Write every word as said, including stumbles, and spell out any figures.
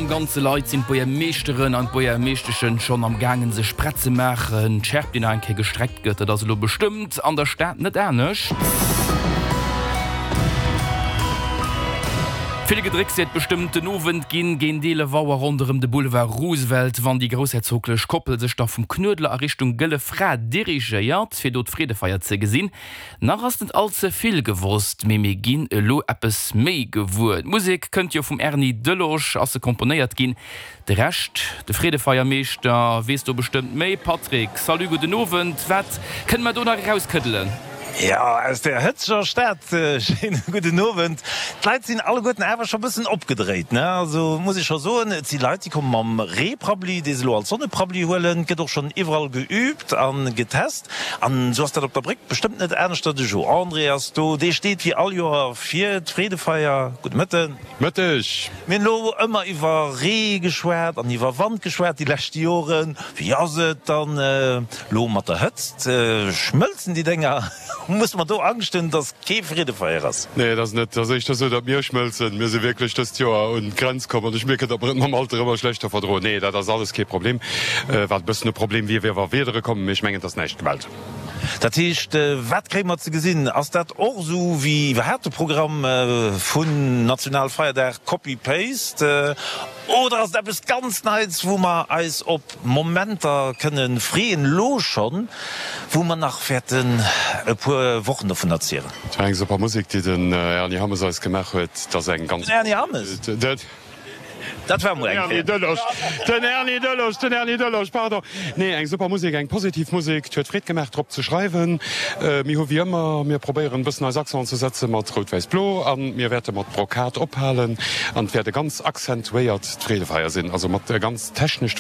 Am ganze Leit sinn d'Buergermeeschteren an d'Buergermeeschteschen schonn am gaangen sech prett ze maachen. D'Schärp déi nach eng Kéier gestreckt gëtt, dat ass elo bestëmmt an der Stad net anescht. Vill Gedrécks wäert bestëmmt den Owend ginn, géint eelef Auer ronderëm de Boulevard Roosevelt, wann déi groussherzoglech Koppel sech da vum Knuedler a Richtung Gëlle Fra dirigéiert, fir do d'Freedefeier ze gesinn. Nach ass net all ze vill gewosst, mee mir ginn elo eppes méi gewuer. D'Musek kënnt jo vum Erny Delosch, ass se komponéiert ginn. De Rescht, de Freedefeiermeeschter weess do bestëmmt méi. Patrick, salut, gudden Owend, wat kënne mer do nach erauskëddelen? Jo, aus der hëtzeger Stad, schéine gudden Owend. D'Leit sinn alleguerten awer scho bëssen opgedréit, ne? Also muss ech scho soen, et si Leit, déi komme mam Reeprabbli, dee se elo als Sonneprabbli huelen. Et gëtt och schonn iwwerall geüübt a getest. An esou ass dat op der Bréck bestëmmt net aneschter. De Jo André ass do, dee steet wéi all Joer fir d'Freedefeier. Gudde Mëtten. Mëtteg. Mir hunn elo ëmmer iwwer Ree geschwat an iwwer Wand geschwat déi lescht Joren. Wéi ass et dann elo mat der Hëtzt? Schmëlzen déi Dénger? Musse mer do Angscht hunn, datt kee Freedefeier ass? Nee, et ass net. Et ass éischter esou, datt mir schmëlzen. Mir si wierklech dëst Joer un d'Grenz komm an ech mierken, datt mer et mam Alter ëmmer schlechter verdroen. Nee, dat ass alles kee Problem. Wat e bëssen e Problem wier, wier wa Wiedere kommen, mee ech mengen, et ass näischt gemellt. Dat heescht, wat kréie mer ze gesinn? Ass dat och esou wéi iwwerhaapt de Programm vun Nationalfeierdag, Copy-Paste, oder ass et eppes ganz Neits, wou mer eis op Momenter kënne freeën, elo schonn, wou mer nach wäerten e puer Wochen dovun erzielen? Et war eng super Musek, déi den Ernie Hammes eis gemaach huet. Et ass eng ganz. Den Ernie Hammes? Dat war mol eng Kéier. Den Erny Delosch, den Erny Delosch, pardon. Nee, eng super Musek, eng positiv Musek. Et huet Freed gemaach, drop ze schreiwen. Mir hu wéi ëmmer, mir probéieren e bëssen eis Accenten ze setze mat Rout-Wäiss-Blo a mir wäerte mat Brokat ophalen. An et wäert e ganz accentuéiert Freedefeier sinn, also mat e ganz technescht.